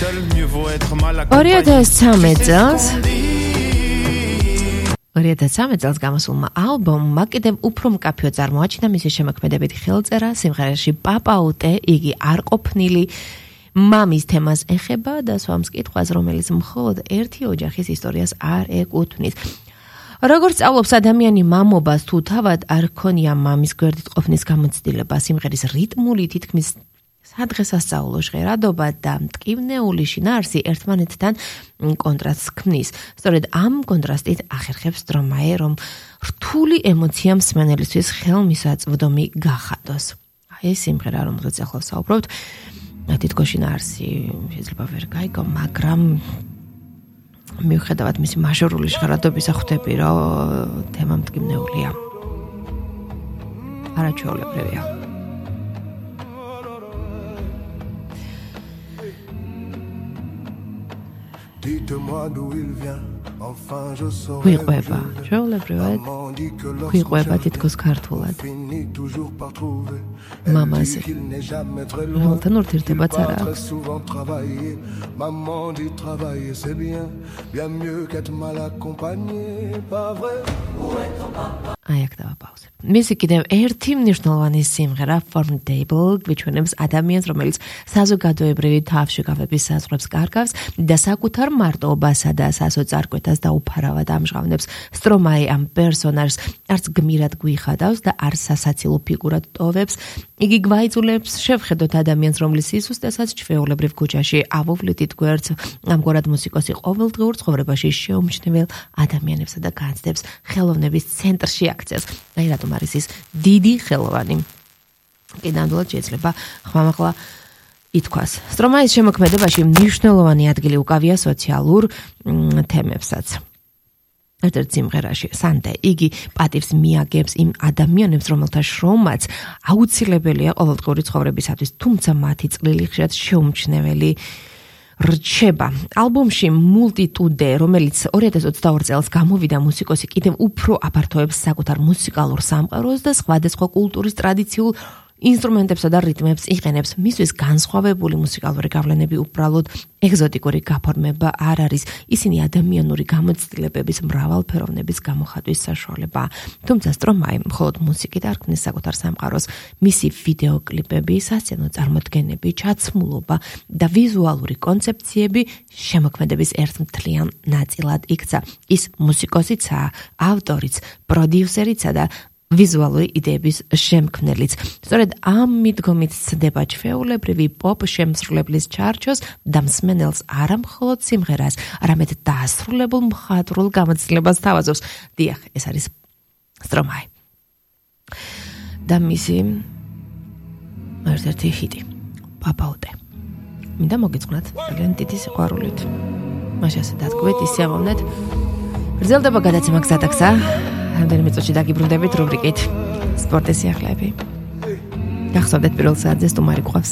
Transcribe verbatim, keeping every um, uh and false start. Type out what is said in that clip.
ორი ათას ცხრამეტ წელს ორი ათას ცხრამეტ წელს გამოსულმა ალბომმა კიდევ უფრო მკაფიო წარმოაჩინა მისი შემოქმედებითი ხელწერა სიმღერაში პაპაუტე, იგი არ ყოფნილი მამის თემას ეხება და სვამს კითხვას, რომელიც მხოლოდ ერთი ოჯახის ისტორიას არ ეკუთვნის. როგორც სწავლობს ადამიანი მამობას თუ თავად არ ქონია მამის გვერდით ყოფნის გამოცდილება, სიმღერის რიტმული თითქმის სადღესასწაულო ჟღერადობა და მტკივნეული შინაარსი ერთმანეთთან კონტრასტს ქმნის. სწორედ ამ კონტრასტით ახერხებს სტრომაე, რომ რთული ემოცია მსმენელისთვის ხელმისაწვდომი გახადოს. აი ეს სიმღერა, რომელზეც ახლა ვსაუბრობთ, თითქოს შინაარსი შეიძლება ვერ გაიგო, მაგრამ მიუხედავად მისი მაჟორული ჟღერადობისა ხვდები, რომ თემა მტკივნეულია. არაჩვეულებრივია. გვიყვება, ჩვეულებრივად გვიყვება თითქოს ქართულად მამაზე, რომელთან ურთიერთობაც არ აქვს. აი აქ დავაპაუზებ. მისი კიდევ ერთი მნიშვნელოვანი სიმღერა Formidable გვიჩვენებს ადამიანს, რომელიც საზოგადოებრივი თავშეკავების საზღვრებს კარგავს და საკუთარ მარტოობასა და სასოწარკვეთას დაუფარავად ამჟღავნებს. სტრომაე ამ პერსონაჟს არც გმირად გვიხადავს და არც სასაცილო ფიგურად ტოვებს. იგი გვაიძულებს შევხედოთ ადამიანს, რომლის სისუსტესაც ჩვეულებრივ ქუჩაში ავუვლითით გვერდს, ამგვარად მუსიკოსი ყოველდღიურ ცხოვრებაში შეუმჩნევლ ადამიანებსა და განცდებს ხელოვნების ცენტრში აქცევს. აი რატომ არის ის დიდი ხელოვანი. კი ნამდვილად შეიძლება ხმამაღლა ითქვას. სტრომაის შემოქმედებაში მნიშვნელოვანი ადგილი უკავია სოციალურ თემებსაც. ერთ-ერთ სიმღერაში სანტე იგი პატივს მიაგებს იმ ადამიანებს, რომელთა შრომაც აუცილებელია ყოველდღიური ცხოვრებისათვის, თუმცა მათი წვლილი ხშირად შეუმჩნეველი რჩება. ალბომში Multitude, რომელიც ორი ათას ოცდაორი წელს გამოვიდა, მუსიკოსი კიდევ უფრო აფართოებს საკუთარ მუსიკალურ სამყაროს და სხვადასხვა კულტურის ტრადიციულ ინსტრუმენტებსა და რიტმებს იყენებს. მისთვის განსხვავებული მუსიკალური გავლენები უბრალოდ ეგზოტიკური გაფორმება არ არის. ისინი ადამიანური გამოცდილებების მრავალფეროვნების გამოხატვის საშუალებაა. თუმცა სტრომაე მხოლოდ მუსიკით არ ქმნის საკუთარ სამყაროს. მისი ვიდეოკლიპები, სასცენო წარმოდგენები, ჩაცმულობა და ვიზუალური კონცეფციები შემოქმედების ერთმთლიან ნაწილად იქცა. ის მუსიკოსიცაა, ავტორიც, პროდიუსერიცა და ვიზუალური იდეების შემქმნელიც. სწორედ ამ მიდგომით ცდება ჩვეულებრივი პოპ შემსრულებლის ჩარჩოს და მსმენელს არა მხოლოდ სიმღერას, არამედ დაასრულებულ მხატვრულ გამოცდილებას თავაზობს. დიახ, ეს არის სტრომაე. და მისი ერთ-ერთი ჰიტი, პაპაუტე. მინდა მოგიწყვნათ ძალიან დიდი სიყვარულით. მაშინ ასე დადგმეთ, ისე ამოვნეთ. გრძელდება გადაცემა გზადაგზა. რამდენიმე წუთში დაგიბრუნდებით რუბრიკით სპორტის სიახლეები. გახსოვდეთ პირველ საათზე სტუმარი გვყავს.